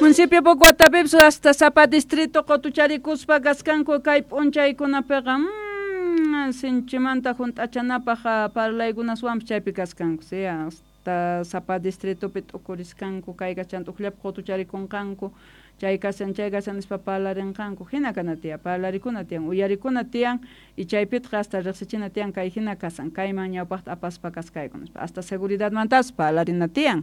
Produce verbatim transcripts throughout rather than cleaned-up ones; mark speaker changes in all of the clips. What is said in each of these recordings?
Speaker 1: Municipio Pocoatapipis hasta sapa distrito qutucharikuspa kaskanku kay p'unchaykunapiqa mm, sinchimanta hunt'achanapaq parlaykunaswanpis chaypi kaskanku, sí, hasta sapa distritopi t'ukuriskanku kay kachan t'uqllapi qutucharikunqanku chay kashan chay kashan nispa parlarinqanku hina kana tiyan parlarikuna tiyan uyarikuna tiyan y chaypitaq hasta riqsichina tiyan kay hina kasan kayman ñawpaqta apaspa kaskayku nispa hasta seguridadmantapas parlarina tiyan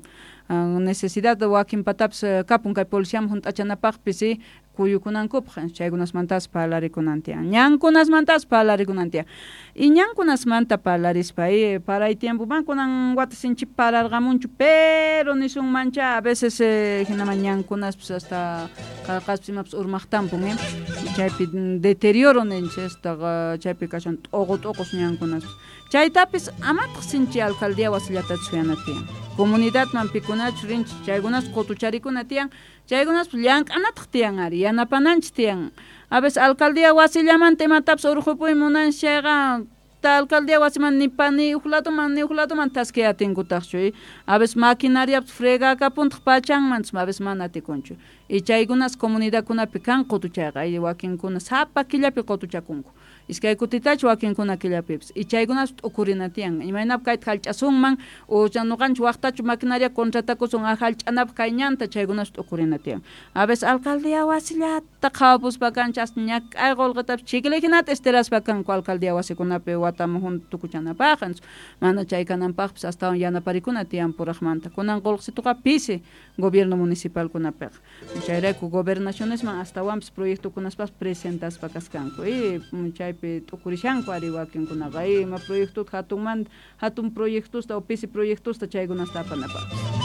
Speaker 1: necesidad wakin patapis kapun kay policiaman hunt'achanapaqpis kuyukunankupaq chaykunasmantapas parlarikunan tiyan ñankunasmantapas parlarikunan tiyan y ñankunasmanta parlarispa paray tiempoman kunan wata sinchi pararqamunchu pero nisunmancha a veces hinaman ñankunaspis hasta qaqaspis imapas urmaqtampun eh chaypi deterioro ninchis hasta chaypi kashan t'uqu t'uqus ñankunaspis chaytapis amataq sinchi alcaldía wasillatachu suyana tiyan comunidadman pikunachu rinchis chaykunas qutucharikuna tiyan chaykunaspis llank'anataq tiyan ari yanapananchis tiyan a veces alcaldía wasillamanta imatapis urqupuy munanchis chayqa alcaldía wasiman ni pa ni huk ladoman ni huk ladoman thaskiy atinkutaqchu a veces maquinariapis fregakapuntaq pachanman a veces mana atikunchu y chaykunas comunidadkunapi kan qutuchayqa wakinkuna sapa killapi qutuchakunku iskay kutitachu wakinkuna killapipis y chaykunas t'ukurina tiyan imaynapi kayta hallch'asunman o ñuqanchik waqtachu maquinaria contratakusun hallch'anapaq kay ñanta chaykunas t'ukurina tiyan a veces alcaldía wasillata qhawapuspa kanchik hasta ñak'ay qullqitapis chiklihinata estiraspa kanku alcaldía wasikunapi wataman junta tukuchanapaq mana chay kananpaqpis astawan yanaparikuna tiyan puraqmanta kunan qullqisituqa pisi gobierno municipalkunapiqa chayrayku gobernacionesman astawanpis proyectokunaspas presentaspa kaskanku y chaypi t'ukurishanku ari wakinkunaqa ima proyectota hatunmanta hatun proyectosta o pisi proyectosta chaykunasta apanapaqpis.